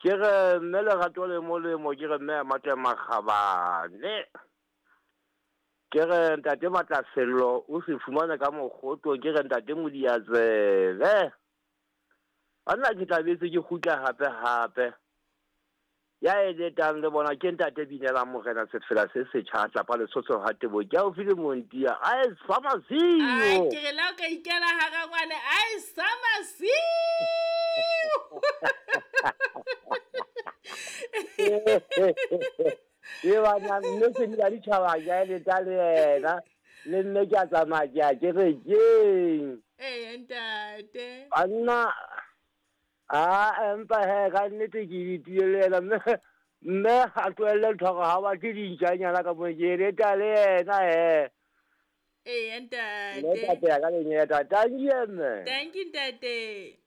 Ke re mme Lerato le molemo, ke re mme Mate Makgabane. Ke re ntate Matlasello o se fumane ka mokgotong, ke re ntate Modiatsebe. Banna ke tla betse ke kgutla hape hape. Ya eletang le bona ke ntate Binelang Morena sefela se setjha tlapa Lesotho ha Tebo ke haufi le Montia a e sa Ai, masiu. ke re la o ka ikela hara ngwane ai sa masiu. E bana mme se di ditjhaba ke a eleta le yena le nne ke a tsamaya ke a kerekeng. Ee ntate. Banna a empa he ka nnete ke letile le yena mme mme a tlohelle ntho ya hore ha batle dintjanyana ka mo ke eleta le yena he. Ee Mme ntate. tate ya ka lenyeta. Thank you mme. Thank you ntate.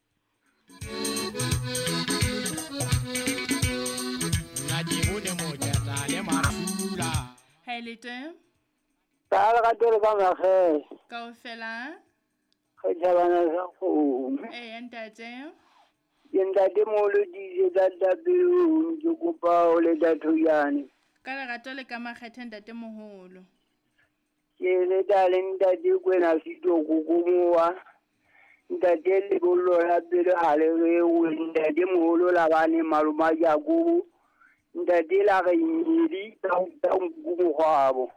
Nna ke bone moketla le mafula. Ha e le teng Ka lerato le ka makgethe, kaofela. re tjhabana sa kgomo. Ee ntate. Ke ntate moholo dijo tsa tapelong, ke kopa ho leta thojane. Ka lerato le ka makgethe ntate moholo. Ke leta le ntate Kwena Sitoko Komowa. Ntate lebollo la pele ha le rewe, ntate moholo la bane maloma Jakobo. Ntate la re nyedi ka nku mokgwabo.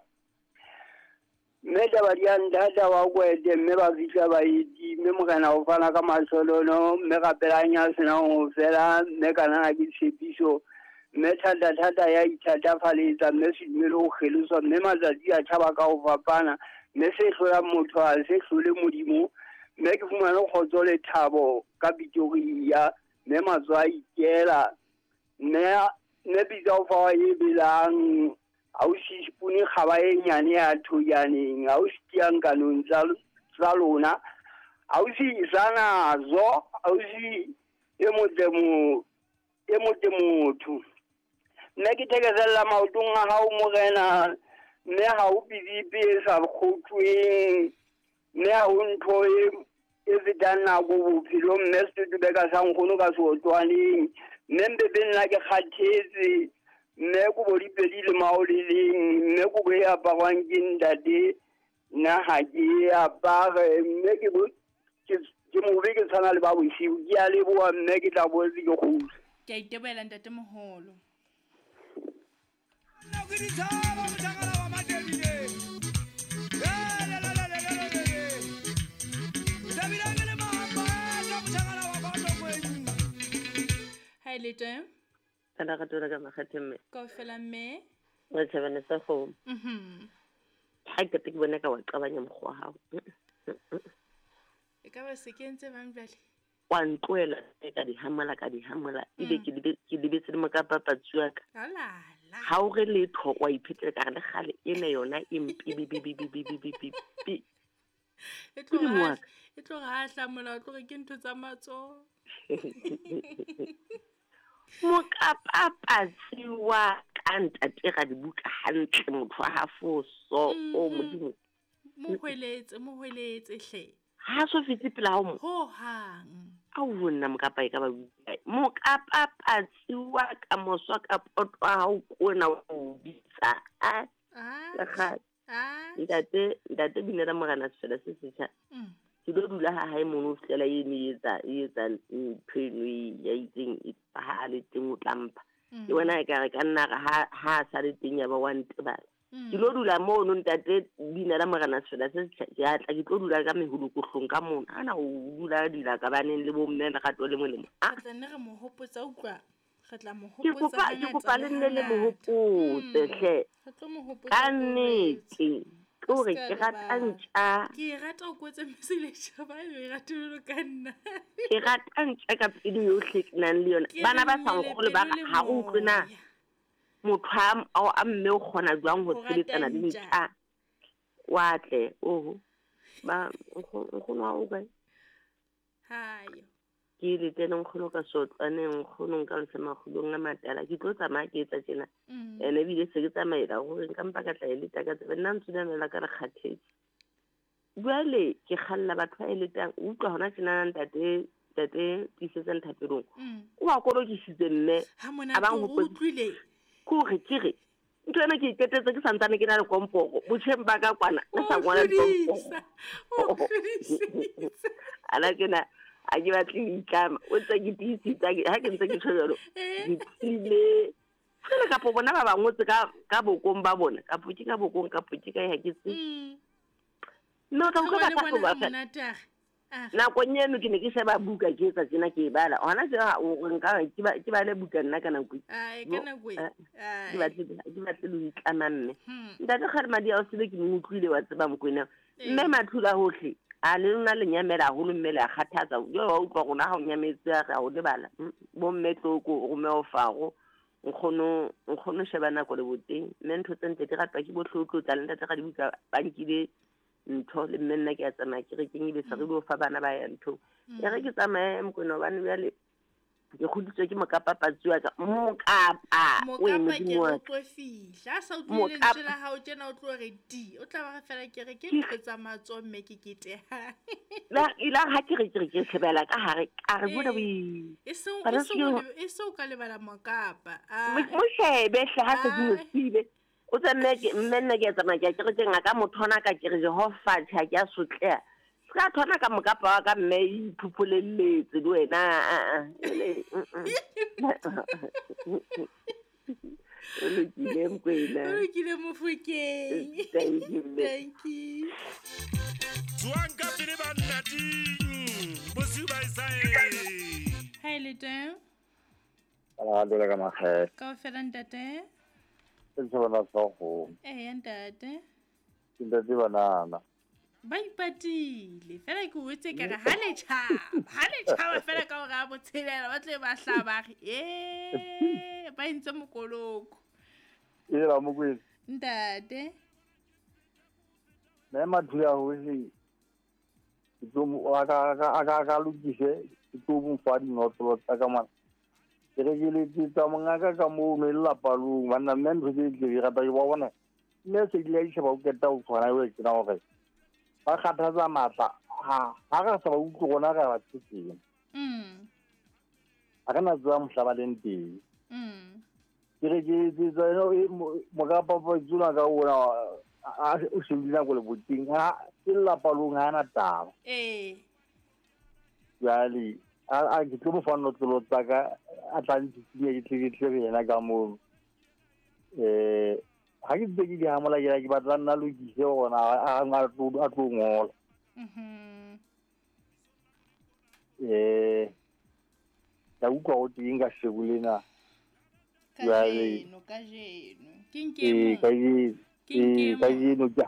Mme taba di a nthata wa kwete, mme ba fihla ba eti, mme morena o fana ka masolono, mme rapelang ya senang ho fela, mme kanana ke tshepiso, mme thata-thata ya ithatafaletsa, mme sedumele ho kgeloswa, mme matsatsi a tjhaba ka ho fapana, mme se hlolang motho ha se hlole Modimo, mme ke fumane kgotso le thabo ka Pretoria, mme matsoho a ikela, mme mme pitsa o fa e belang ha o si spune kgaba e nyane ya thojaneng, ha o si tiyang kanong tsa lona, ha o si isanazo, ha o si e motle mo e motle motho. Mme ke thekesella maotong a hao morena, mme ha o pidipe e sa kgotweng, mme ha ho ntho e fetang nako bophelong, mme setotobeka sa nkgono ka seotwaneng, mme mpebe nna ke kgathetse, mme kobo di pedi le mao le leng, mme kobo e aparwang ke ntate nna ha ke e apare, mme ke ke mobe ke tshwana le ba bosiu. Ke a leboha mme ke tla boetse ke kgutla. Ke a itebohela ntate moholo. Nna ke ditshaba mothakala wa Matebile. Thabile ke le mahapa ka mothakala wa Batlokweni. Ha e le teng Ka lerato la ka makgethe mme. kaofela mme. Re tjhabane sa kgomo. Ha ke qeta ke bona ka wa qabanya mokgwa wa hao. E ka ba se kentse bang jwale? Wa ntlohela ka di hamola ka di hamola ebe ke lebetse le mokapa patsi wa ka. Alala. Ha o re letho wa iphetela ka re le kgale ena yona e mpe bi bi bi bi bi bi bi bi bi. E Modimo wa tloga ka. e tloga ha hlamola o tloge ke ntho tsa matsoho. Mokapa patsi wa ka ntate ra dibuka hantle motho wa ha foso o Modimo. Mo hweletse, mo hweletse hle. Ha so fitse pela hao mo. Ho hang. Ao nna mokapa e ka ba kae. Mokapa patsi wa ka moswa ka poto wa hao kona o bitsa. A Ah. le kgale. Ah. Ntate ntate Binela Morena sefela se setjha. Ke tlo dula ha hae mono ho fihlela eno e etsa e etsa ntho eno e ya itseng e ha a le teng o tla mpha. Ke bona ekare ka nna re ha ha a sa le teng ya ba wa ntebala. Ke lo dula mono ntate Binela Morena sefela se setjha. Ke a tla ke tlo dula ka meholokohlong ka mona. Hana o dula dila ka baneng le bo mme lerato le molemo. Re tla nne re mo hopotsa utlwa. Re tla mo Ke hopotsa kopa ke hangata kopa le le nne le mo hangata. hopotse hle. Re tlo mo hopotsa Ka re nnete. Ke hore Ska ke rata lebala. ntja. Ke e rata o kwetse Mesiletjhaba e rate jwalo ka nna. Ke rata ntja ka pelo yohle ke nang le yona. Ke Bana re ba sa mmele nkgolwe ba pelo re le ha o utlwe na moya. motho a mme o kgona jwang ho Ho rata sebetsana le ntja. ntja. Wa tle oho. Ba nkgono wa hao o kae? Hayo. Ke le tene nkgono ka sotlwaneng nkgono nka lesa makgulong a matala. Ke tlo tsamaya ke etsa tjena. Ene ebile se ke tsamaela hore nka mpa ka tla e leta ka tsebe. Nna ntsunamela ka re kgathetse. Jwale ke kgalla batho ba eletang. O utlwa hona tjenana ntate Ntate Tiisetsang Thapelong. O a kolokisitse mme a bang utlwile. Ke hore ke re ntho ena ke iketetse ke santsane ke na le komporo botjheng ba ka kwana ke sa ngwala dikomporo. Ana ke na a ke batle ho itlama, o ntse ke tiisitse ha ke ntse ke tjho jwalo. Ke tiile fela kapo bona ba bangotse ka bokong ba bona, kapo ke ka bokong kapo ke ka ya ke tse. Mme o tla utlwa ba tla ba fela. Nakong eno ke ne ke sheba buka ke etsa tjena ke e bala. Hona jwale o re nka ke bale buka nna ka nako e. Ai, ka nako e. Ke batle le ho itlama mme. Ntate Kgalemadi a o sebe ke mo utlwile wa tseba Mokwena. Mme Mathula hohle a le lona le nyamela haholo mme le a kgathatsa. Jwale wa utlwa rona ha o nyametse re a o lebala. Bo mme Tloko Romeo Faro nkgono sheba nako le boteng. Mme ntho tse ntle di ratwa ke bohle o tlotla le ntate Radibuka ba nkile ntho le mme nna ke a tsamaya ke re ke ile sa re lo fa bana ba ya ntho. E re ke tsamaye Mokwena hobane jwale ke kgodisitswe ke mokapa patsi wa ka. Mokapa o e modimo wa ka. Fihla sa utlwile lentswe la hao tjena o tlo re di. O tla ba re fela ke re ke ntho tsa matsoho mme ke keteha. La ila ha ke re ke shebela ka hare a re bona bo. E se o ka lebala mokapa. Mo shebe hle ha se di mo sibe. O tse mme ke mme nna ke tsamaya ke re ke ngaka mothona ka ke re Jehova tjha ke a sotleha. Ska thona ka mokapa wa ka mme iphupholelletse le wena a. O lokile Mokwena. O lokile Mofokeng. Thank you. Thank you. Tswang ka pele banna ting. Bosiu ba isae. Ha ile teng? Ala dole ka makgethe. Kaofela ntate. Ke bona sa go. Eh ntate. Ke ntate banana. Ba ipatile fela ke o etse ka re ha le tjhaba fela ka hore a botshelela ba tle ba hlaba re ba entse mokoloko. E la Mokwena. Ntate. Mme Mathula hohle ke tlo mo a ka lokise ke tlo mo fa dinotlolo tsa ka mona. Ke re ke letsetsa mongaka ka moo no lelapa long banna mme ntho tse di rata ke ba bona mme se di a isheba o keta o tshwana o ke na hore ba kgathatsa matla ha re sa ba utlwe rona re ba tsetseng. A re na tswa mohla ba leng teng. Ke re ke etsetsa mokapa pa tsuna ka ona o shebile nako le boteng ha ke lelapa long ha na taba. Jwale a ke tlo mo fa notlolo tsa ka a tla ntshisinya ke tle ke yena ka moo. Ha ke ntse ke di hamola ke batla nna lokise gona a tlo ngola. Ka utlwa go teng ka sheko lena. Kajeno. Ke nke Kajeno ka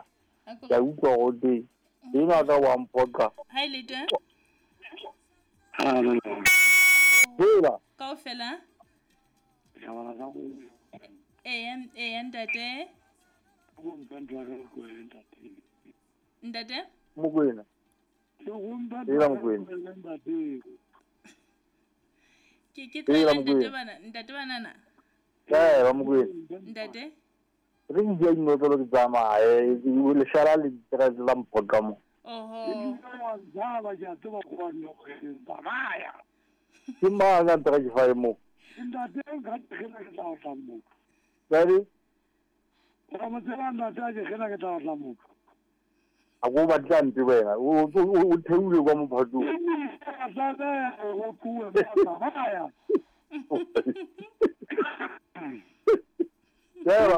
utlwa go teng. Ena ka wa mphoqa. Ha ile teng? Hela. Kaofela? Eh ntate. Ntate? Mokwena. Hela Mokwena. Ke tla ntate bana, ntate banana. Eh ba Mokwena. Ntate? Re ke dinotlolo ke tsamaye, le shala le tsela la mphoqa mo. Oho. Ke mang a ntse ke fa mo? Ntate nka ke ke tla o tla mo. Jwale? Ra mo tsela ntate ke ke tla o tla mo. A go batla mpe wena. O theule kwa mophatong. Tla go kuwe ba ya. Yaba,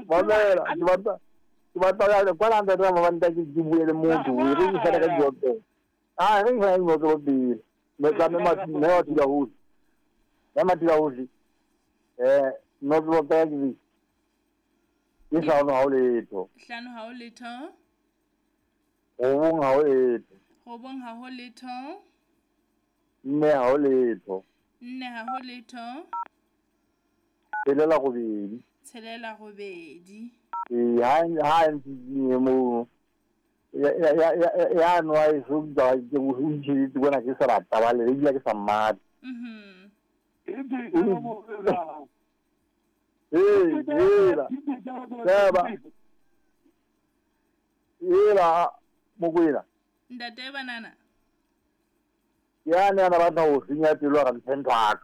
mamela, ke batla kwa la ntate ba ntate ke bue le motho, re ke fela ka dioto. Ah, re fela dioto pele. Me tla me Mathula hohle. Me Mathula hohle. Notlolo tsa ke ke hlano ha o letho. Hlano ha o letho. Robong ha o letho. Robong ha ho letho. Nne ha o letho. Nne ha ho letho. Tshelela robedi. Tshelela robedi. Ha ntse mo ya no a so ba ke go ntse bona ke sa rata ba le ebile ke sa mmata. Ela Mokwena. Ntate banana. Ke yane a na batla ho senya pelo a re mphe ntho ya ka.